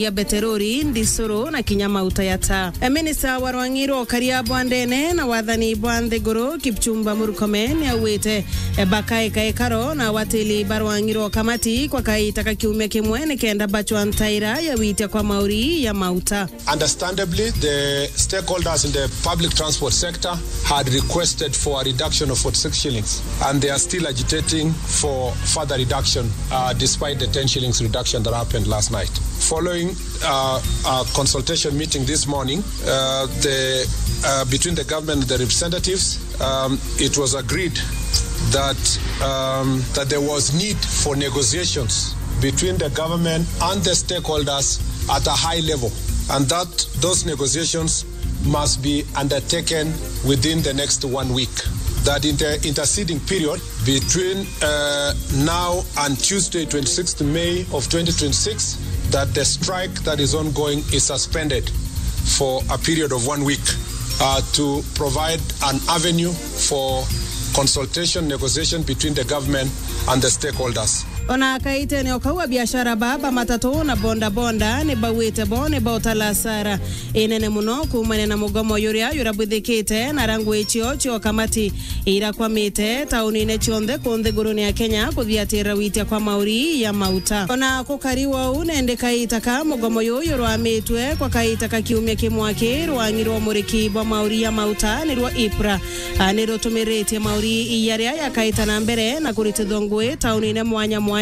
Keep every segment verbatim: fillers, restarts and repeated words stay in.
ya beterori, ndisuru na kinya mauta ya taa. E, minista wa rwang'i rwa ukaria bwa ndene na wathani bwa nthiguru, Kipchumba Murkomen, niaugite, e, bakaika ikaro na awatili ba rwang'i rwa ukamati kwa kaita ka kiumia kimwe nikenda bachwa ntaira ya witia kwa mauri ya mauta. Understandably, the stakeholders in the public transport sector had requested for a reduction of forty-six shillings, and they are still agitating for further reduction, uh, despite the ten shillings reduction that happened last night. Following, uh, a consultation meeting this morning, uh, the, uh, between the government and the representatives, um, it was agreed that, um, that there was need for negotiations between the government and the stakeholders at a high level, and that those negotiations must be undertaken within the next one week. That in the interceding period between, uh, now and Tuesday, twenty-sixth May of twenty twenty-six, that the strike that is ongoing is suspended for a period of one week, uh, to provide an avenue for consultation, negotiation between the government and the stakeholders. Ona kaitene o kau, abiashara ba, ba matatu na boda boda ni bauite bo ni bautala hasara inene muno kuumania na mugomo yuria yurabwithikite na rangwi cio cio kamati irakwamite taunine cionthe ku nthigurune ya Kenya kuthiatira witia kwa mauri ya mauta. Ona kukari wou, nende kaita ka mugomo yuyu rwamitwe kwa kaita ka kiumia kimwe ki rwang'i rwa umuriki bwa mauri ya mauta nirwo IPRA, a, ni rutumiritie mauri yaria yakaita na mbere na kuritithwa ngui taunine mwanya mwanya,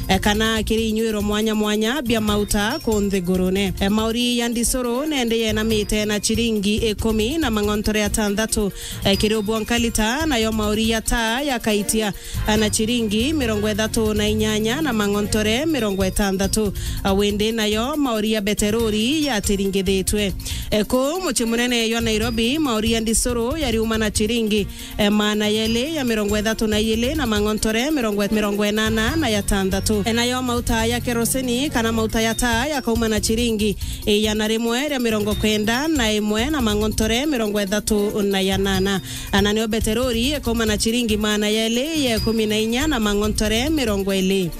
e, kana kiri inywiro mwanya mwanya bia mauta ku nthigurune. E, mauri ya ndisuru nende yenamite na chiringi ikumi na mang'ontore atantatu, e, kiri ubwonka lita, nayo mauri ya taa yakaitia, e, na chiringi mirongo ithatu na inyanya na mang'ontore mirongo itantatu. E, windi nayo mauri ya beterori yatiringithitwe. E, kuu mucii munene jwa Nairobi, mauri ya ndisuru yariuma na chiringi e, maana yeli ya mirongo ithatu na iili na mang'ontore mirongo, mirongo inana na yatantatu. E, nayo mauta ya kerosini kana mauta ya taa yakauma na chiringi igana rimwe ria mirongo kenda na imwe na mang'ontore mirongo ithatu na yanana. Na nio beterori ikauma na chiringi maana yeli ya ikumi na inya na mang'ontore mirongo ili.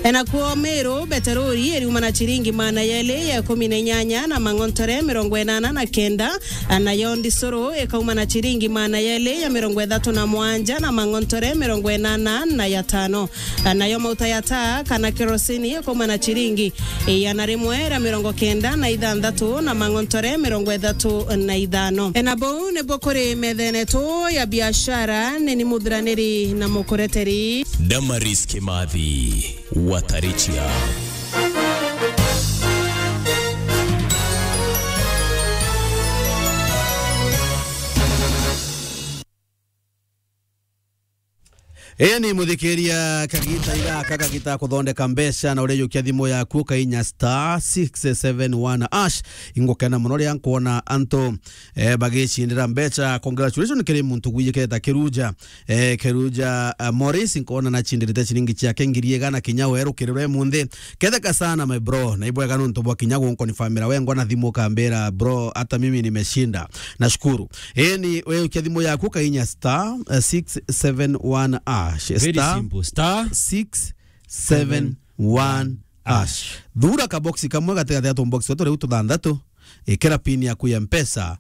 E, nakuo Meru, beterori iriuma na chiringi maana yeli ya ikumi na inyanya na mang'ontore mirongo inana na kenda, nayo ndisuru ikauma na chiringi maana yeli ya mirongo ithatu na mwanja na mang'ontore mirongo inana na yatano. Nayo mauta ya taa kana kerosini ikauma na chiringi igana rimwe ria mirongo kenda na ithanthatu na mang'ontore mirongo ithatu na ithano. E, na bau nibo kuri methene tu ya biashara, ni ni muthiraniri na mukureteri. Damaris Kimathi, Watarichia. Ii ni muthikiria, kagita ira aka kagita kuthondeka mbeca na urijukia thimu yaku ukainya star six seven one hash. Ingukena muno riria nkwona antu, eh, bagicindira mbeca. Congratulations kiri muntu gwijiketa Kiruja. Eh, Keruja, eh, Morris, nkona nacindirite ciringi ciake ngiri igana kinya weru kiriro munthi. Ketheka sana, my bro. Na ibwega nuntu bwa kinya gunkonifamira wengwa na thimu ukambira, "Bro, hata mimi nimeshinda." Nashukuru. Eni, we ukia thimu yaku ukainya star, eh, six seven one hash. Very simple. Star six seven one hash. Thura kaboksi kamwe gatigati ga tumboksi turia tuthanthatu. Ikira pin yaku ya Mpesa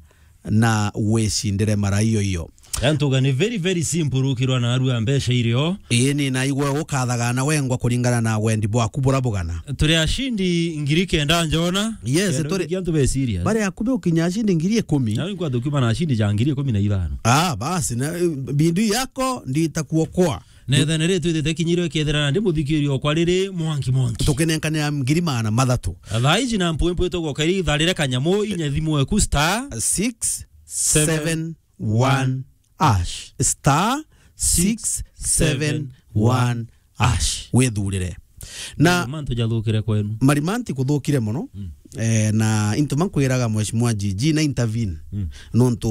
na wicindire mara iyo iyo. Yantuga ni very, very simple, ukirwa na arua mbeca irio. Ii, ni naigua ukathaga na wengwa kuringana na wendi bwaku bura bugana. Turi ashindi ngiri kenda njona. Yes, kenda turi ukigia antu be serious. Bari akubi ukinya ashindi ngiri ikumi. Na nkwa tukiuma na ashindi ja ngiri ikumi na ithano. Ah, basi, na, eh, bindu yako ndita kuokoa. Netha nere twithite kinyirwe kethira na ndi muthikirio okwa riri mwanki mwanki. Tukinenkanira ngiri magana mathatu. Thaa iji na mpwempwe tugoka iri itharire kanyamu inya thimu eku star six seven one hash. Star six seven one hash. Withurire. Na marimanti jathukire kwenu. Marimanti kuthukire muno. Mm. Eh, na into mankwiraga Mheshimiwa G G na intervene. Mm. Nontu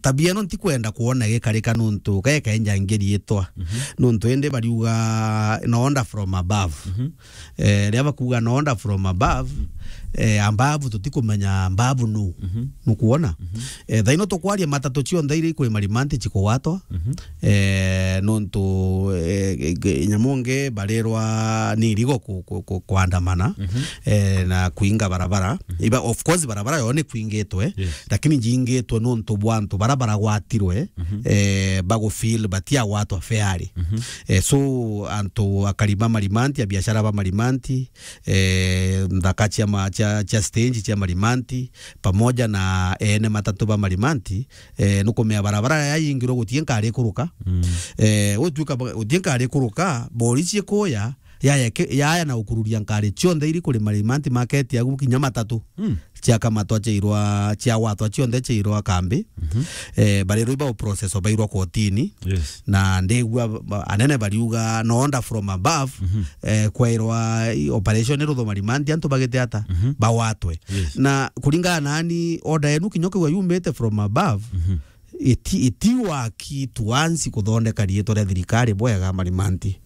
tabia ino ntikwenda kuona gikarika nontu geka enja ngiri itwa. Mhm. Nontu indi bariuga no order from above. Mhm. Eh, ria bakuga no order from above, mm, Eh, ambabu tutikumenya ambabu nu. Mhm. Nukuona? Mhm. Eh, thaino tukwaria matatu cionthe iri kwi marimanti cikugwatwa. Mhm. Eh, nontu, eh, nyamu ngi barirwa ni irigo ku-, ku-, ku-, kwandamana, mhm, eh, na kuinga barabara. Mhm. Iba, of course, barabara yo ni kuingitwe, yes, lakini jingitwe nontu bwa antu bara baragwatirwe, mhm, eh, bagufeel batiagwatwa fairly. Mhm. Eh, so, antu akari ba marimanti, abiashara ba marimanti, eh, nthaka cia ma-, cia, cia stage cia marimanti, pamoja na ene matatu ba marimanti, eh, nukumea barabara ya yingirwo gutie nkari kuruka. Mm. Eh, gutuika ba-, gutie nkari kuruka, borisi ikuya, yaya ke-, yaya na ukururia nkari cionthe iri kuri marimanti market agu kinya matatu. Mm. Ciakamatwa ciairwa, ciagwatwa cionthe ciairwa kambi. Mhm. Eh, barirwa iba process bairwa kotini. Yes. Na ndigua ba-, anene bariuga no order from above, mhm, eh, kwairwa i-, operation irutho marimanti antu bagite ata, mhm, bawatwe. Yes. Na kuringana nani order yenu kinya kiwa yumite from above, mhm, iti, iti waki tuansi kuthondeka riitwa ria thirikari bwega marimanti.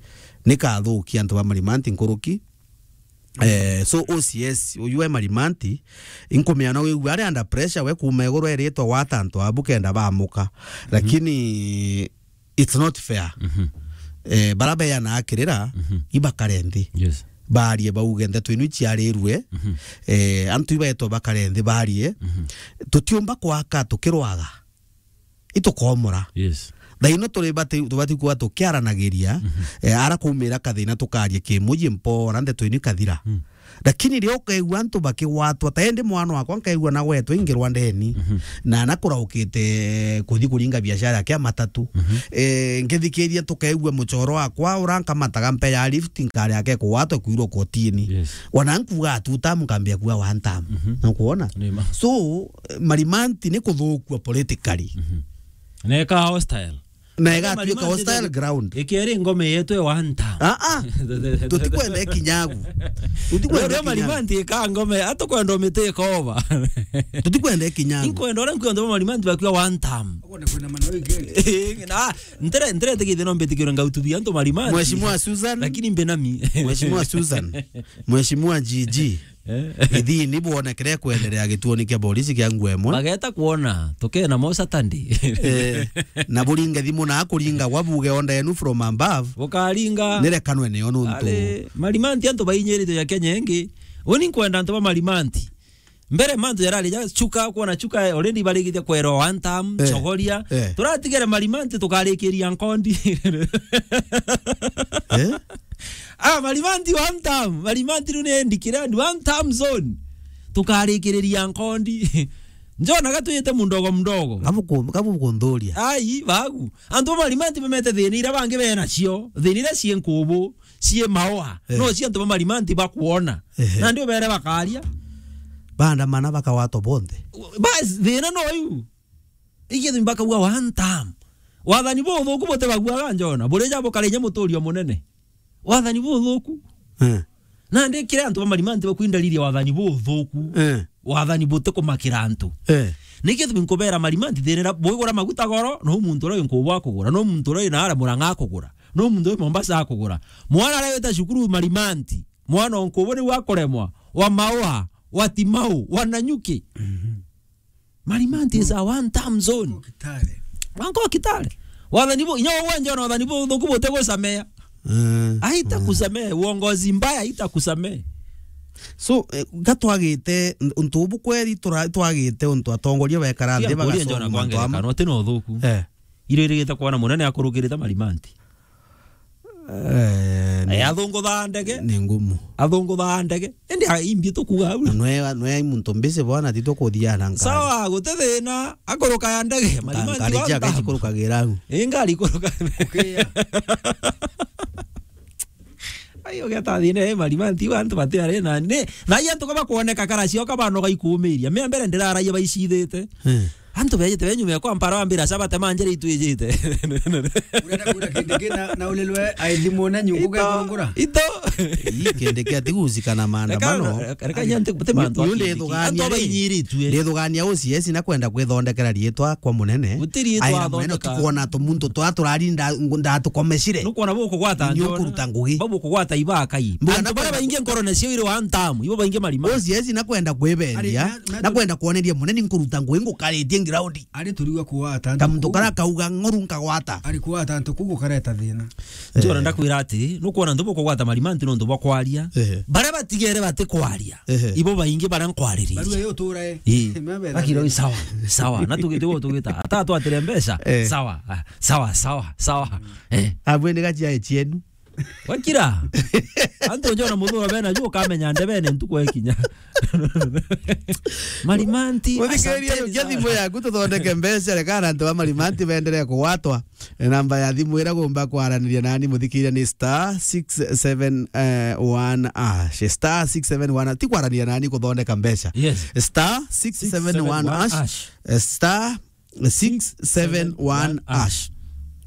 Nikathukia antu ba marimanti nkuruki. Eh, so O C S uyu e marimanti, inkumea no wigua ari under pressure we kuuma iguru eritwa gwata antu abu kenda bamuka. Mhm. Lakini it's not fair. Mhm. Eh, bara beana akirira, mhm, ibakare nthi. Yes. Barie bauge ndeto inu iciarirue. Mhm. Eh, antu ibaetwa bakare nthi barie. Mhm. Tutiumba kwaka tukirwaga. Itukomora. Yes. Thaino turi bati-, tubati kuba tukiaranagiria, mhm, eh, ara kumira kathina tukaria kimuji mpora ndeto inu ikathira. Mm. Lakini rio ukaigua antu bakigwatwa, ta indi mwana wakwa nkaigua nagwetwe ingirwa ndeni, mhm, na nakuraukite kuthi kuringa biashara yake ya matatu. Mhm. Eh, ngithikiria tukaigua muchoro wakwa ura nkamataga mpe ya lift nkari yake kugwatwa kwirwa kotini. Yes. Wana nkuga two term nkambia kuga one term. Mhm. Nukuona? Ni ma. So, eh, marimanti ni kuthukua politically. Mhm. Na ika hostile. Na igatuika marimanti hostile ground. Ikeri ngome yetu e one term. Ah, ah. Tutikwenda ikinyagu. Tutikwenda ikinyagu. Marimanti ika ngome, atukwenda umite ikova. Tutikwenda ikinyagu. Inkwenda ora nkwenda marimanti bakiwa one term. Kwenda kwenda manoi gani? Na, ntere, ntere tiki thino mbiti kiro ngautu bia antu marimanti. Mheshimiwa Susan. Lakini mbe nami. Mheshimiwa Susan. Mheshimiwa G G. Eh? Ithini bwonekere kwenderea gituoni kia borisi kia nguo imwe. Bageta kwona, tukena mo Saturday. Eh, na buringe thimu na kuringa gwa buge onda yenu from above. Bukaringa. Nirekanwe niyo nuntu. Ari, marimanti antu bainyirite ya Kenya ingi. Uni nkwenda antu ba marimanti. Mbere mantu yarari ja chuka, kwona chuka already barigite kwerwa one term, eh, chogoria. Eh. Turatigere marimanti tukarikiria nkondi. Eh? Ah, marimanti one term, marimanti riu ni ndikira, ni one term zone. Tukarikiriria nkondi. Njona gatwite mundogo mdogo. Kabu ku-, kabu kunthuria. Ai, bagu. Antu ba marimanti bamete thina ira bangi bena cio, thina ira cii nkubu, cii maua. Eh. No cio antu ba marimanti bakwona. Ehe. Na ndio bere bakaria. Bandamana bakawatwa bonthe. Bas, thina no yu. Ikethimi bakauga one term. Wathani buthuku butibaguaga njona. Burija bukara inya muturio munene. Wathani buthuku. Eh. Na ndikire antu ba marimanti bakwindariria wathani buthuku. Eh. Wathani butikumakira antu. Eh. Nikethimi nkubera marimanti thirira bwigura maguta goro, no muntu uria nkubu akugura, no muntu uria na ara Murang'a akugura, no muntu uria Mombasa akugura. Mwana aria wita cukuru marimanti, mwana o nkubu niwe akuremwa, wa maua, wa timau, wa nanyuki. Mhm. Marimanti is a one term zone. Kitale. Wanko Kitale. Wathani bu, nyo wenje na wathani bu thuku bute gusamea. Mm. Haita kusamea, uongozi mbaya haita kusamea. So, eh, gatwagite, untu ubu kweri tura-, twagite untu atongoria bekara nthi bagasoma mantu amwe. Kana uti no thuku. Eh. Iro irigite kwana munene akurukirite marimanti. Eh, ni, eh, athunguthaa ndege. Ni ngumu. Athunguthaa ndege. Indi a-, imbi tukuga au. Na nwe, nwe muntu mbisi bona ti tukuthiana nkari. Sawa, guti thina, akuruka ya ndege, nka-, marimanti nkari wa ciake ntamu. Cikurukagira au. Ii, ngari ikuruka. Ai, ugeta thina, eh, marimanti wa antu bati ari na, ni, na ai antu kaba kuoneka kara cio kaba no gaikumiria. Mea mbere ndiraraia baicithite. Eh. Antu beejite be nyuma yakwa mpara wambira, "Saba tema njira itwijite." Urenda kwira kindi kina na ulilwe aithimwo na nyungu Ito, gekurungura? Ito. Ii, kindi kia tigucikana maandamano. Reka, reka, reka, nyanti, guti mantu Ni, ni akindi ki. Ndithugania Antu ri. Abainyiritue. Ndithugania O C S na kwenda kwithondekera riitwa kwa munene. Guti riitwa Aira munene athondeka. Tukwona tumuntu twa turarinda ngu-, ndatukomecire. Nukwona bukugwata Nyo njona. Kuruta ngugi. Bau bukugwata ibakai. Mbuga Antu na baria kwenda baingi nkorone ciao iri one term, ibo baingi marima. O C S na kwenda kwibendia, Ari, na, na na tu- kwenda kwoneria munene nkuruta ngugi ngukaritie ground. Ari turigwa kugwata antu Kamuntu kuu. Kara kauga ng'oru nkagwata. Ari kugwata antu kuu gukareta thina. Njora Eh. Ndakwira ati, nukwona antu bukugwata marimanti nontu bwa kwaria. Ehe. Baria batigere bati kwaria. Ehe. Ibo baingi baria nkwariririe. Barua yo tura e. Ii. Mebe Akira ui sawa, sawa. Na tugite gu tugita. Ata twatire mbeca. Eh. Sawa, ah, sawa, sawa, sawa. Eh. Abwe ni gachia chienu. Wakira. Antu njona muthuro bena juu ukamenya ndebene ntuku ekinya. Marimanti, Muthikiriria, asanteni ukia sana. Thimu yaku tuthondeke mbeca, reka na antu ba Marimanti benderee kugwatwa. Namba ya thimu ira gumba kwaraniria nani muthikiriria ni star six seven one hash. Star six seven one, ti kwaraniria nani kuthondeka mbeca. Yes. Star six seven one hash. Star six seven one hash.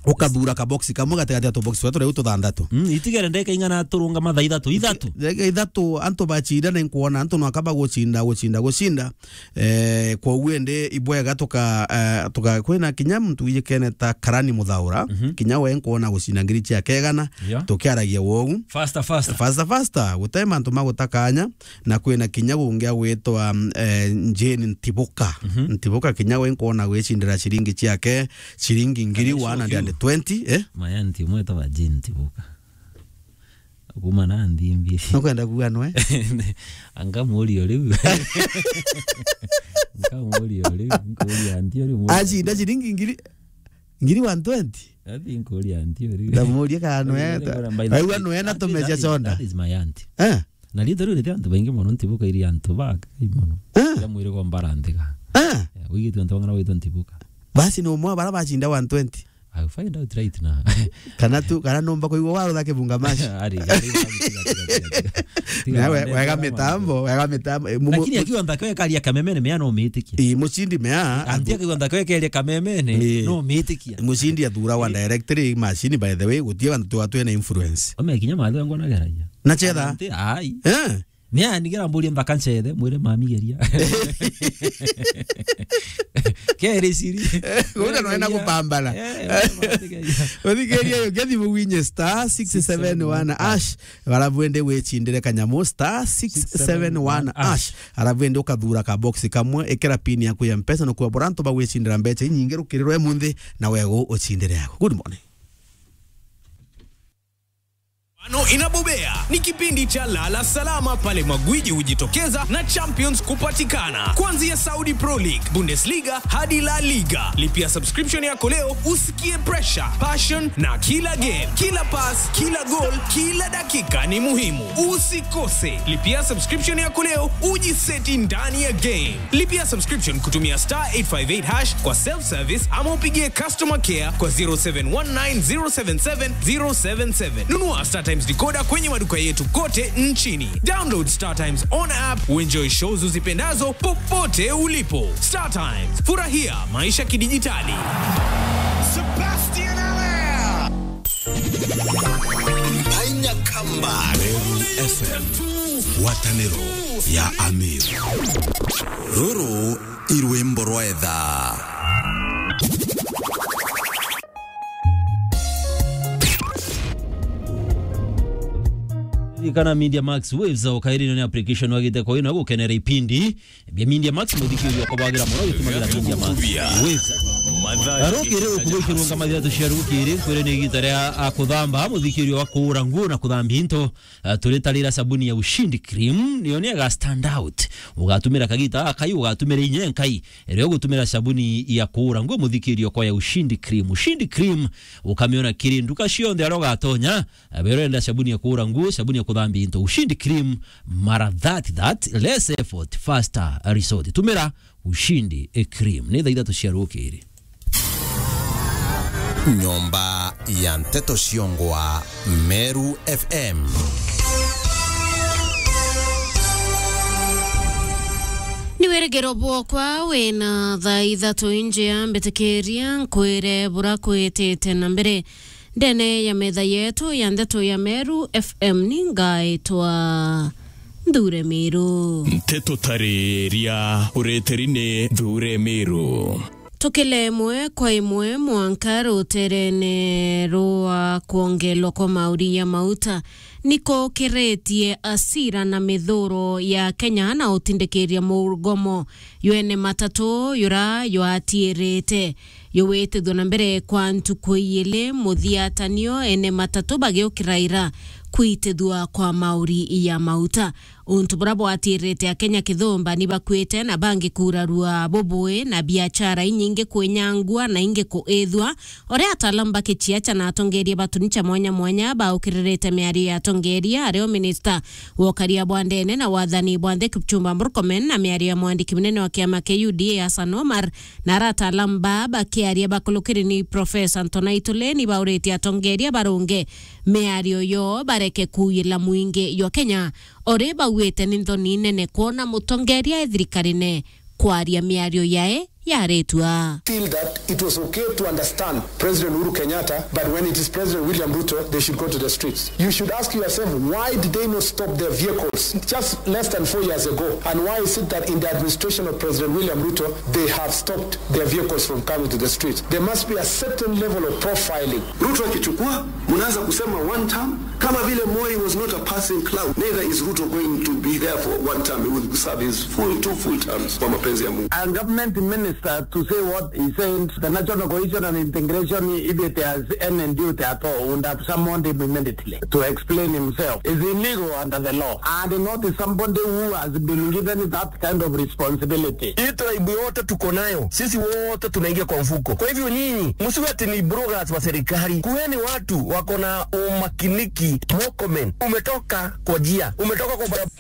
Ukathura kaboksi kamwe gatigati ya tuboksi twa turia tuthanthatu. Mm, itigere ndeka ing'ana turunga mathaa ithatu, ithatu. Ndeka ithatu, antu bacindana, nkwona antu nwaka bagucinda, gucinda, gucinda. Eh, kwoguo indi ibwega tuka, eh, tuka, kwina kinya muntu wijikene ta Karani Muthaura, Mhm. kinya we nkwona gucinda ngiri ciake igana, Yeah. tukiaragia wogu. Faster, faster. Faster, faster, gute mantu ma gutakanya. Na kwina kinya gungi agwitwa, mm, eh, Jane Ntibuka. Mhm. Ntibuka kinya we nkwona gwicindira ciringi ciake, ciringi ngiri Kana icio one hundred and twenty, eh? Mayanti umwe etagwa Jane Ntibuka. Kuma na nthimbi. Nukwenda kuuga nwe? Anga muri o riu. Anga muri o riu, nkuria nti o riu. Acinda ciringi ngiri, ngiri one twenty? Ati nkuria nti o riu. Ndamuria kana nwe. By the way, aigua nwe na tumecia that is, soda. That is my auntie. Eh? Na riitwa riu riti antu baingi mono, Ntibuka iri antu bakai mono. Ah. Ria mwiri gwa mbara nthega. Ah. Eh, wigitwe antu bang'ana witwa Ntibuka. Basi ni umwe wa bara bacinda one twenty. I'll find out right now. Kana tu, kana numba kuigua warutha kibunga mash. Ari, ari, tiga, tiga, tiga, tiga. Tiga, nawe, wega mitambo, wega mitambo. Eh, mumu-, lakini akiwa nthaka ekaria kamemene mea no mitikia. Ii, mucindi mea, anti akiwa nthaka ekeria kamemene, ii, no mitikia. Mucindi athura wa directory machine, by the way, gutie bantu twa twena influence. Ome kinya mathu ngona geragia. Na chetha? Anti, ai. Eh? Ni aya nigera mburie nthaka nchethe, mwire mami geria. Keri ciri. Guta no ena gupambana. Eh, eh, mami geria. Uthikiria yo, gethi muwinye star six seven one hash. Alafu ende wicindire kanyamu star six seven one hash. Alafu ende ukathura ka box kamwe, ikira pin yaku ya mpesa, no kwa boranto bagwicindira mbeca inyingi rukirirwe munthi, na wego ucindire yako. Good morning. Ano inabobea ni kipindi cha Lala Salama pale magwiji hujitokeza na champions kupatikana. Kuanzia Saudi Pro League, Bundesliga hadi La Liga. Lipia subscription yako leo usikie pressure, passion na kila game, kila pass, kila goal, kila dakika ni muhimu. Usikose. Lipia subscription yako leo ujiseti ndani ya game. Lipia subscription kutumia star eight five eight hash kwa self service ama upigie customer care kwa zero seven one nine zero seven seven zero seven seven. Nunua StarTimes decoder kwenye maduka yetu kote nchini. Download StarTimes on app, uenjoy shows uzipendazo popote ulipo. StarTimes, furahia maisha kidijitali. Sebastian Allaire. Ainya Kamba. Meru F M, ngwataniro ya Amir. Ruru i rwimbo rwa etha. Ririkana Media Max Waves, ukairirwo ni application wagite kwa ino gukenera ipindi bia Media Max, muthikiriria kwa bagira muno gitumagira Media Max Waves. Arukiri ukuba ikirunga mathira tuciarukiri, kwire ni igita ria, a, kuthamba, muthikiriria wa kuura nguo na kuthambia into. Ah, turitarira sabuni ya Ushindi Cream, niyo ni aga stand out. Ugatumira kagita akai, ugatumira inye nkai. Rio gutumira sabuni ya kuura nguo, muthikirio kwa ya Ushindi Cream. Ushindi Cream, ukamiona kiri nduka cionthe aria ugatonya. Ah, wero enda sabuni ya kuura nguo, sabuni ya kuthambia into. Ushindi Cream, mara that, that, less effort, faster result. Tumira Ushindi, a cream. Ni thaa ithatu cia rukiri. Nyomba ya nteto ciongwa Meru F M. Ni wira Igiro bwokwa wina thaa ithatu injia, mbitikiria nkwire bura kwitite na mbere. Ndene ya metha yetu ya ndeto ya Meru F M ni ngaitwa Nthure Miru. Nteto tariria ureteri ni Nthure Miru. Tukile imwe kwa imwe mwanka ruterene rwa kwongelwa kwa mauri ya mauta, nikukiritie asira na mithuro ya Kenya na utindikiria mugomo yene matatu yura ywatirite. Yuwitithua na mbere kwa ntuku iili muthiatanio ene matatu bagiukira ira kwitithua kwa mauri ya mauta. Untu bura bwatirite Akenya kithumba ni bakwite na bangi kurarua bubui na biachara inyingi kwinyangua na ingi kuithua. Uria ataalamu ba kichiacha na atongeria ba tunicha mwanya mwanya baukiririte miario ya atongeria ario minista wa ukaria bwa ndene na wathani bwa nthi Kipchumba Murkomen na miario ya mwandiki munene wa kiama kia U D A Hassan Omar, na ara ataalamu ba bakiaria bakulukiri ni Profesa Ntona Itule ni bauritie atongeria barunge miario yo bareke kuuyila mwingi jwa Kenya. Ori bauite ni nthoni nene kwona mutongeria e thirikarine kwaria miario yae yaritwa. Feel that it was okay to understand President Uhuru Kenyatta, but when it is President William Ruto, they should go to the streets. You should ask yourself, why did they not stop their vehicles just less than four years ago? And why is it that in the administration of President William Ruto, they have stopped their vehicles from coming to the streets? There must be a certain level of profiling. Ruto akichukua, mnaanza kusema one term, kama vile Moi was not a passing cloud, neither is Ruto going to be there for one term. He will serve his full, two full terms kwa mapenzi ya Mungu. A government minister to say what he said, the National Cohesion and Integration, if it has any duty at all, would have summoned him immediately to explain himself. Is illegal under the law and not somebody who has been given that kind of responsibility. Hii tribe yote tuko nayo, sisi wote tunaingia kwa mfuko. Kwa hivyo nyinyi, msiwe ati ni bloggers wa serikali. Kuweni watu wako na umakiniki. Murkomen, umetoka kwa njia, umetoka kwa barabara.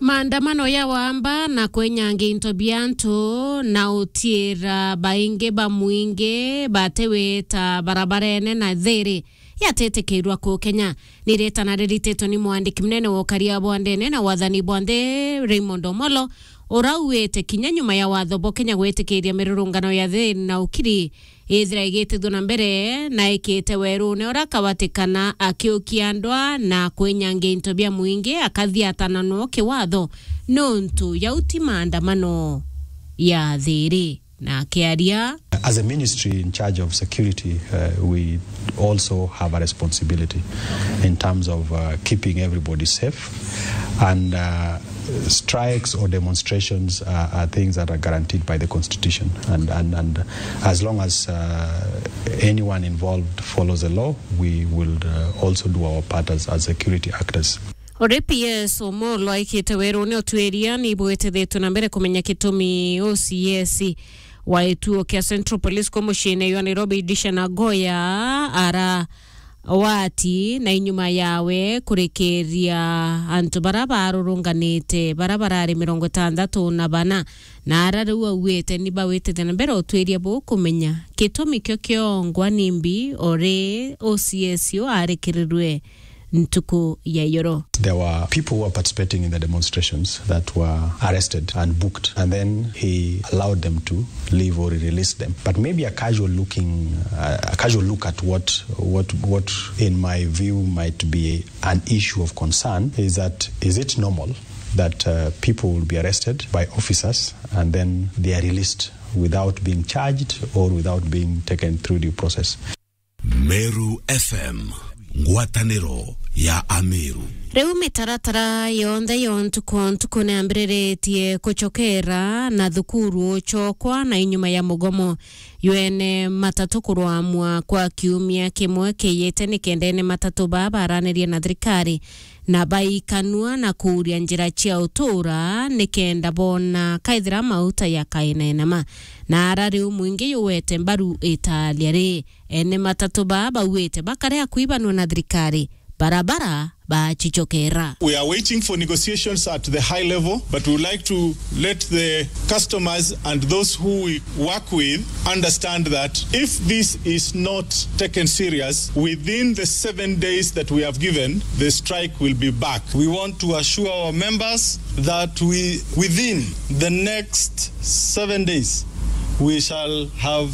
Maandamano ya wamba na kwenyangia into bia antu na utiira baingi ba mwingi batiwita barabarene na thiri yatitikirwa kuu Kenya. Ni ritana rirititwe ni mwandiki munene wa ukaria bwa ndene na wathani bwa nthi, Raymond Omolo, urauite kinya nyuma ya watho bwa Kenya gwitikiria mirurungano ya thiri na ukiri ithira igitithua na mbere, na ikite werune ura kawatikana akiukia ndwa na kwinyangia into bia mwingi akathiatana no kiwatho nontu yau ti maandamano ya thiri. Na akiaria. As a ministry in charge of security, uh, we also have a responsibility in terms of, uh, keeping everybody safe, and, uh, strikes or demonstrations are, are things that are guaranteed by the constitution, and, and, and as long as, uh, anyone involved follows the law, we will, uh, also do our part as, as security actors. Uri P S Omolo aikite werune utwiria ni bwitithitwe na mbere kumenya gitumi O C S wa gituo kia Central Police kuu muciine jwa Nairobi, Idisha Nagoya, ara wati na inyuma yawe kurikiria antu bara barurunganite, bara barari mirongo itandatu na bana, na ara riu auite ni bawitite na mbere utwiria buu kumenya gitumi kio kiongwa nimbi ori O C S uu arikirirwe ntuku ya iyoro. There were people who were participating in the demonstrations that were arrested and booked, and then he allowed them to leave or he released them. But maybe a casual looking, uh, a casual look at what, what, what in my view might be an issue of concern is that, is it normal that, uh, people will be arrested by officers and then they are released without being charged or without being taken through due process? Meru F M, ngwataniro ya Ameru. Riu mitaratara yonthe ya ntuku o ntuku ni yambiriritie kucokera na thukuru ucokwa na inyuma ya mugomo. Yu ene matatu kurwamwa kwa kiumia kimwe kiyite ni kenda ene matatu baa baranirie na thirikari na baikanua na kuuria njira cia utura ni kenda boona kaithira mauta ya kainenama. Na ara riu mwingi yuwete mbaru italia ri, ene matatu baa bauite bakare akuibanua na thirikari barabara bachichokera. We are waiting for negotiations at the high level, but we would like to let the customers and those who we work with understand that if this is not taken serious, within the seven days that we have given, the strike will be back. We want to assure our members that we, within the next seven days, we shall have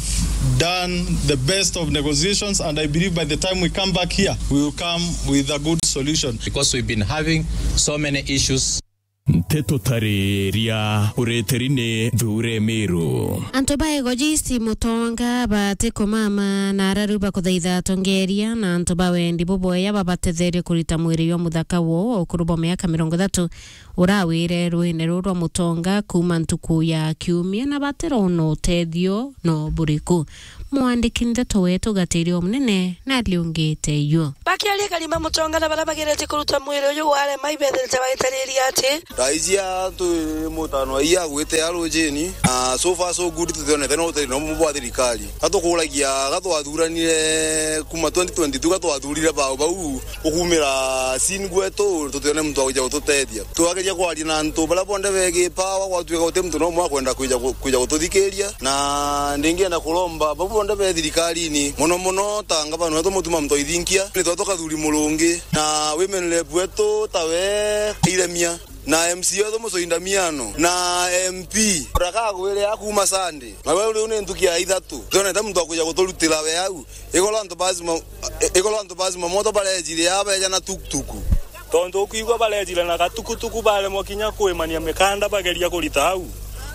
done the best of negotiations, and I believe by the time we come back here, we will come with a good solution. Because we've been having so many issues. Nteto tariria ureteri ni Thure Miru. Antu ba Igoji East Mutonga batikumama na araru bakuthaitha atongeria na antu ba wendi buboya babatetherie kurita mwiri jwa muthaka woo wa ukuru bwa miaka mirongo ithatu urawire rwine ruu rwa Mutonga kuuma ntuku ya Kiumia na batirona utethio no buriku. Mwandiki ndeto wetu Gatirio Munene nariungite iu. Bakiaria Karima Mutonga na baria bagerete kuruta mwiri uyu warema ibethirite baitariria ati, thaa iji antu mutano aia agwite a rujini, na so far so good, tutionete no utethio no bwa thirikari. Gatukuragia, gatwathuranire kuma twenty twenty-two, gatwathurire bau bau, ukumira sin gwetu, tutione muntu wa kuja gututethia. Twageria kwaria na antu baria bonthe begi power, gwatuika guti muntu no umwe akwenda kwija gu-, kwija gututhikiria. Na ndingienda kuromba bau bonthe be thirikarini, mono mono ta ngavana wetu Mutuma Mtoithinkia, ni twa tukathuri Murungi, na women rep wetu tawe Iremia, na M C A wetu Mucui Ndamiano, na M P ndakagwire a kuuma Sunday. Na we riu ni ntuki ya ithatu, tionete muntu wa kwija guturutira we au. Igoro antu bazima, igoro antu bazima moto barejire aa beja na tukutuku. Tontu ukwigua barejire na gatukutuku, baremwa kinya kwimania mikanda bageria kurita au.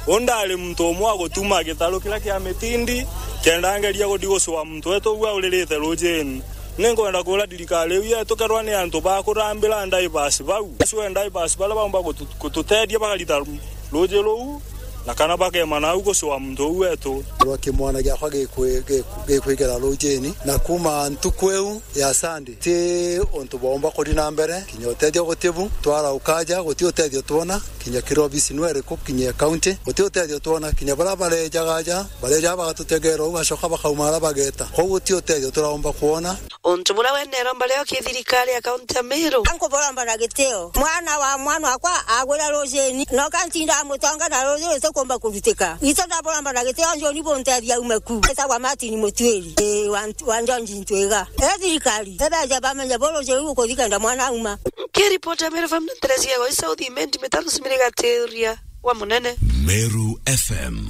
U ndari muntu umwe wa gutuma gitaru kiria kia mitindi, kenda ngeria guthi gucua muntu wetu uu auririte rujini. Ninkwenda kwira thirikari iu yetu kerwa ni antu ba kurambira drivers bau, acue drivers baria baumba gutu-, gututethia bakarita ruji ruu, na kana bakema nau gucua muntu uu wetu. Rwa kimwana giakwa gikwi-, giku-, gikwigera rujini, na kuuma ntuku iu ya Sunday, ti untu bwaumba kuthi na mbere, kinya utethio guti bu, twarauka aja, guti utethio twona, kinya kiri obisi nwe iriku, kinya county, guti utethio twona, kinya baria barejaga aja, barejaga bagatutegera uu, bacoka bakauma aria bageta. Kwou guti utethio turaumba kwona. Untu buria we neromba rio ki thirikari ya kaunti ya Meru. Ankuburomba na gitio. Mwana wa mwana wakwa agwira rujini, no kantinda Mutonga na ruji rutikumba kurutika. Itu ndaburomba na gitio, njoni buntethia aume ku. Etagwa Martin Mutuiri, ii, wa Nt-, wa Njonji Ntwiga. E thirikari, ebeje bamenye bu ruji ruu rukuthi kenda mwana auma. Nkiripota Meru F M na Teresia Goi South, Imenti Mitano Simiri Gatiria wa Munene. Meru F M,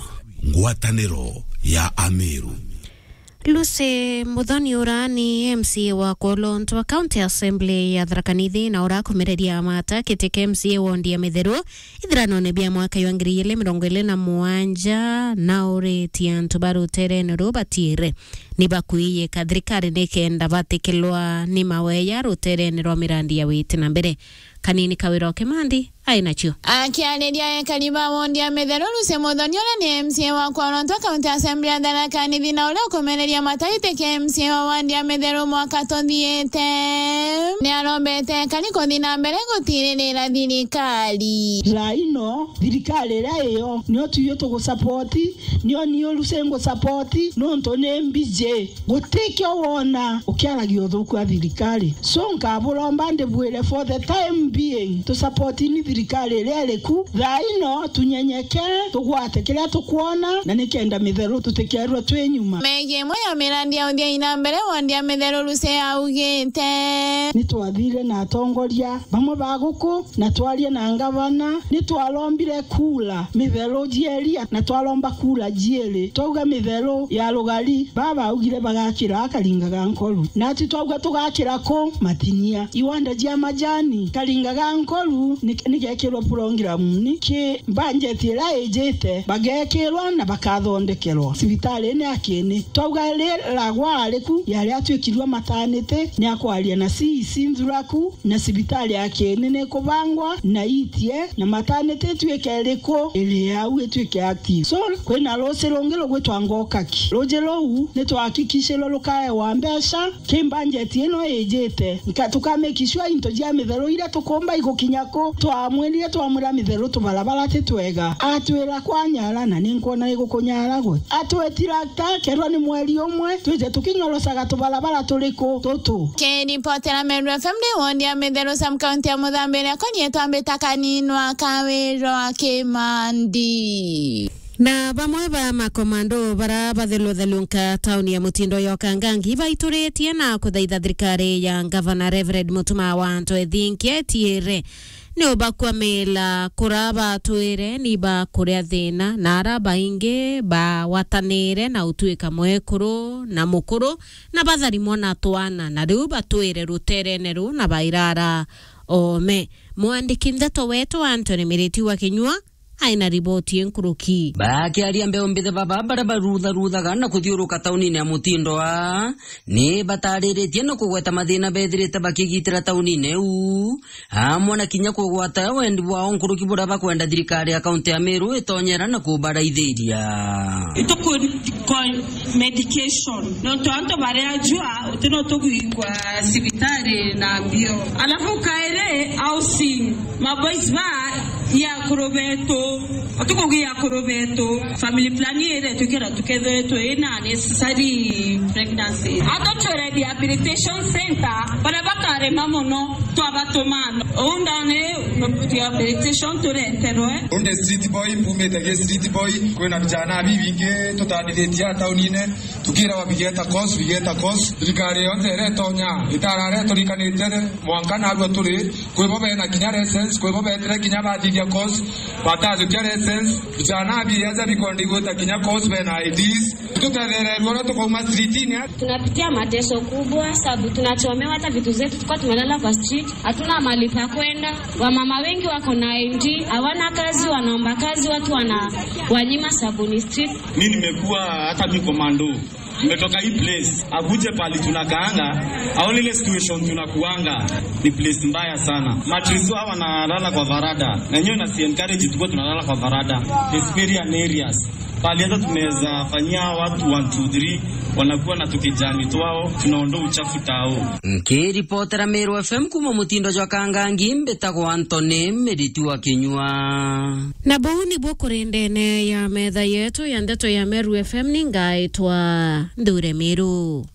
ngwataniro ya Ameru. Lucy Muthoni uria ni M C A wa Kwolontu wa County Assembly ya Tharaka Nithi na urakumireria mata kiti kia M C A wondi ya Mitheru ithiranone bia mwaka jwa ngiri igiri mirongo iri na mugwanja, na uritie antu ba ruterene ruu batiire ni bakwiyika thirikari nikenda batikilwa ni maweya ruterene rwa mirandi ya witi na mbere. Kanini Kawira o Kimandi ai nacio. Akiariria ekari ba wondi ya Mitheru, Lucy Muthoni uria ni M C A wa Kwolontu County Assembly ya Tharaka Nithi na uria ukumereria mata giti kia M C A wa wondi ya Mitheru mwaka tuthiite, ni arombete ekari kuthi na mbere gutiririra thirikari. Thaa ino thirikari iria iyo nio tuyo tugusupport, nio niu Lucy ngusupport nontu ni mbiji. Gutikio wona ukiaragia uthuku wa thirikari. So, nkaburomba ndibwire, for the time being, tusupportini thirikari iria iri ku. Thaa ino, tunyenyeke, tugwate kiria tukwona, na nikenda Mitheru tutikerwe twi nyuma. Megie imwe ya mirandi ya uthia na mbere wondi ya Mitheru, Lucy augite. Ni twathire na atongoria bamwe ba guku, na twaria na ngavana, ni twarombire kura Mitheru jieria, na twaromba kura jiiri. Twauga Mitheru ya rugari, baba augire bagakira Karinga ga Nkoru. Nati twauga tugakira ku? Matinia. Iwanda jia majani, Karinga ga Nkoru ni, ni gekirwe programu ni ki budget iria ijite, bagekirwa na bakathondekerwa cibitari ni akini. Twauga riragwa ari ku, yari atwikirwe maternity, ni akwaria na C E C Nthuraku, na cibitari ya Kieni ni ikubangwa na itie, na maternity ituike iriku iri au ituike active. So, kwina ruuji rungi rugwitwa Ngokaki. Ruuji ruu ni twahakikishirwe rukaewa mbeca ki budget ino ijite. Nka-, tuka make sure into jia Mitheru iria tuku- Umba igukinya ku, twamwirire, twamwira mitheru tubarabara ti twega. Atwira, "Kwanyara, na ni nkwona igukunyara gwe." Atwitira ta, kerwa ni mweri umwe, twije tukinyorocaga tubarabara turiku tutu. Kiripotera Meru F M ndi woni ya mitheru sub county ya Muthambi iria konietwa mbita kaninwa Kawirwa Kimandi. Na bamwe ba makomando bara batheluthelunka tauni ya Mutindo ya Okangangi baituritie na kuthaitha thirikari ya Ngavana Reverend Mutuma wa Anto Ethinkia etiere ni ubakwamila kura batwire ni bakuria thina, na ara baingi bagwatanire na utuika mwekuru na mukuru, na batharimwa na twana, na riu batwire ruterene ru na bairara ome. Mwandiki ndeto wetu Anthony Miriti wa Kinyua aina riboti inkuruki. Bakiaria mbeu mbithe baba baria barutharuthaga na kuthiuruka taunine ya Mutindo a, ni batariritie na kugweta mathina bethirite bakigitira taunine iu, amwe na kinya kugwata wendi bwao nkuruki buria bakwenda thirikari ya kaunti ya Meru itonyera na kubaraithiria. Ituku-, medication. Nontu antu baria jua, uti no tugwigwa cibitari na mbio. Alafu kairi housing, maboys ba ya akuru betu, utukugia akuru betu. Family plan ire tukira tukethwe twina necessary pregnancy. Ato twe rehabilitation center, bara bakarema muno, twabatuma. Uu ndani rehabilitation tureterwe. Unde street boy, mbumite gi street boy, kwina vijana bibingi tutandithitie a taunine. Tukiragwa bigeta course, bigeta course. Thirikari yonthe iria itonya, itarare turikanite mwanka narua turi, kwi bo bena kinya license, kwi bo betire kinya bathithia course, batajukia license. Vijana biaja bikondi gwita kinya course bena I Ds. Tutethererwe uria tukauma streetine. Tunapitia mateso kubwa, sababu tunachomewa hata vitu zetu, tulikuwa tumelala kwa street, hatuna mahali pa kwenda. Wamama wengi wako na I D, hawana kazi, wanaomba kazi, watu wana wanyima sabuni street. Mi nimekuwa hata mi komando. Nimetoka hii place, akuje pali tunakaanga, aone ile situation tunakuanga. Ni place mbaya sana. Matris hawa wanalala kwa varada. Na nyewe na si encourage tukuwa tunalala kwa varada. It's very areas. Pali hata tunaweza fanyia watu one, two, three, wanakuwa na tukijani twao, tunaondoa uchafu tao. Nkiripotera Meru F M kuma Mutindo jwa Kangangi, mbitagwa Anthony Miriti wa Kinyua. Na buu nibuo kuri ndene ya metha yetu ya ndeto ya Meru F M, ni ngaitwa Nthure Miru.